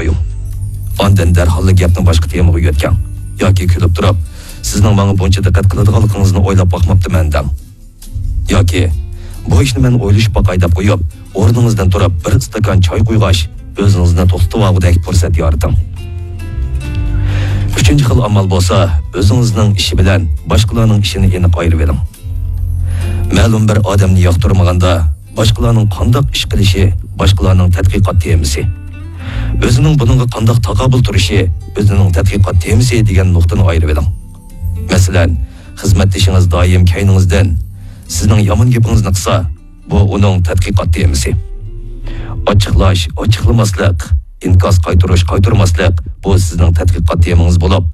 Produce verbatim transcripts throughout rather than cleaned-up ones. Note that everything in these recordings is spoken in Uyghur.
قويۇڭ. ئاندىن دەرھاللا گەپنى باشقا تېمىغا يۆتكەڭ. ياكى كۈلۈپ تۇرۇپ، سىزنىڭ ماڭا بۇنچە دىققەت قىلىدىغانلىقىڭىزنى ئويلاپ باقماپتىمەن دەڭ. ياكى، بۇ ئىشنى مەن ئويلىشىپ باقاي دەپ قويۇپ، ئورنىڭىزدىن تۇرۇپ، بىر ئىستاكان چاي قۇيغاچ، ئۆزىڭىزنى توختىتىۋالغۇدەك پۇرسەت يارىتىڭ. ئۈچىنچى خىل ئامال بولسا، ئۆزىڭىزنىڭ ئىشى بىلەن باشقىلارنىڭ ئىشىنى ئېنىق ئايرىۋېلىڭ. مەلۇم بىر ئادەمنى ياقتۇرمىغاندا، باشقىلارنىڭ قانداق ئىش قىلىشى باشقىلارنىڭ تەتقىقات تېمىسى. ئۆزىنىڭ بۇنىڭغا قانداق تاقابىل تۇرۇشى ئۆزىنىڭ تەتقىقات تېمىسى دېگەن نۇقتىنى ئايرىۋېلىڭ. مەسىلەن، خىزمەتدىشىڭىز دائىم كەينىڭىزدىن سىزنىڭ يامان گېپىڭىزنى قىلسا، بۇ ئۇنىڭ تەتقىقات تېمىسى. ئاچچىقلاش، ئاچچىقلىماسلىق، ئىنكاس قايتۇرۇش، قايتۇرماسلىق، بۇ سىزنىڭ تەتقىقات تېمىڭىز بولۇپ،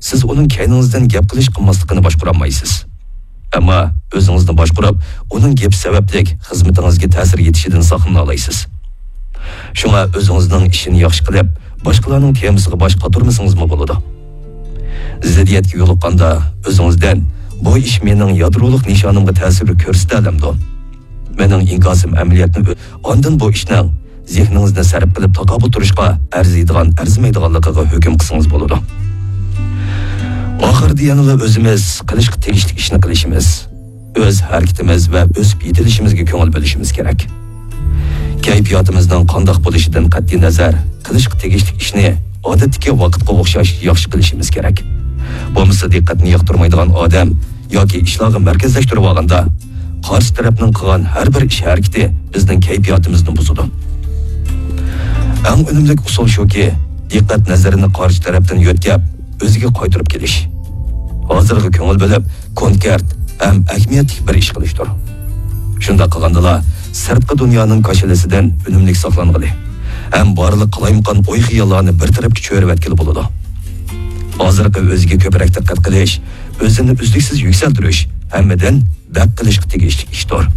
سىز ئۇنىڭ كەينىڭىزدىن گەپ قىلىش قىلماسلىقىنى باشقۇرالمايسىز. ئەمما ئۆزىڭىزنى باشقۇرۇپ، ئۇنىڭ گېپى سەۋەبلىك خىزمىتىڭىزگە تەسىر يېتىشىدىن ساقلىنالايسىز. شۇڭا ئۆزىڭىزنىڭ ئىشىنى ياخشى قىلىپ، باشقىلارنىڭ تېمىسىغا باش قاتۇرمىسىڭىزمۇ بولىدۇ. زىددىيەتكە يولۇققاندا ئۆزىڭىزدىن، بۇ ئىش مېنىڭ يادرولۇق نىشانىمغا تەسىر كۆرسىتەلەمدۇ؟ مېنىڭ ئىنكاسىم ئەمەلىيەتنى ئۆ-، ئاندىن بۇ ئىشنىڭ زېھنىڭىزنى سەرپ قىلىپ تاقابىل تۇرۇشقا ئەرزىيدىغان، ئەرزىمەيدىغانلىقىغا ھۆكۈم قىلسىڭىز بولىدۇ. ئاخىرىدا يەنىلا ئۆزىمىز قىلىشقا تېگىشلىك ئىشنى قىلىشىمىز، ئۆز ھەرىكىتىمىز ۋە ئۆسۈپ يېتىلىشىمىزگە كۆڭۈل بۆلۈشىمىز كېرەك. كەيپىياتىمىزنىڭ قانداق بولۇشىدىن قەتئىينەزەر، قىلىشقا تېگىشلىك ئىشنى ئادەتتىكى ۋاقىتقا ئوخشاش ياخشى قىلىشىمىز كېرەك. بولمىسا دىققەتنى ياقتۇرمايدىغان ئادەم ياكى ئىشلارغا مەركەزلەشتۈرۈۋالغاندا، قارشى تەرەپنىڭ قىلغان ھەر بىر ئىش ھەرىكىتى بىزنىڭ كەيپىياتىمىزنى بۇزىدۇ. ئەڭ ئۈنۈملۈك ئۇسۇل شۇكى، دىققەت نەزىرىنى قارشى تەرەپتىن يۆتكەپ، ئۆزىگە قايتۇرۇپ كېلىش. ھازىرغا كۆڭۈل بۆلۈپ، كونكرېت ھەم ئەھمىيەتلىك بىر ئىش قىلىشتۇر. شۇنداق قىلغاندىلا، سىرتقى دۇنيانىڭ كاشىلىسىدىن ئۈنۈملۈك ساقلانغىلى ھەم بارلىق قالايمىقان ئوي-خىياللارنى بىر تەرەپكە چۆرۈۋەتكىلى بولىدۇ. ھازىرقى ئۆزىگە كۆپرەك دىققەت قىلىش، ئۆزىنى ئۈزلۈكسىز يۈكسەلدۈرۈش، ھەممىدىن بەك قىلىشقا تېگىشلىك ئىشتۇر.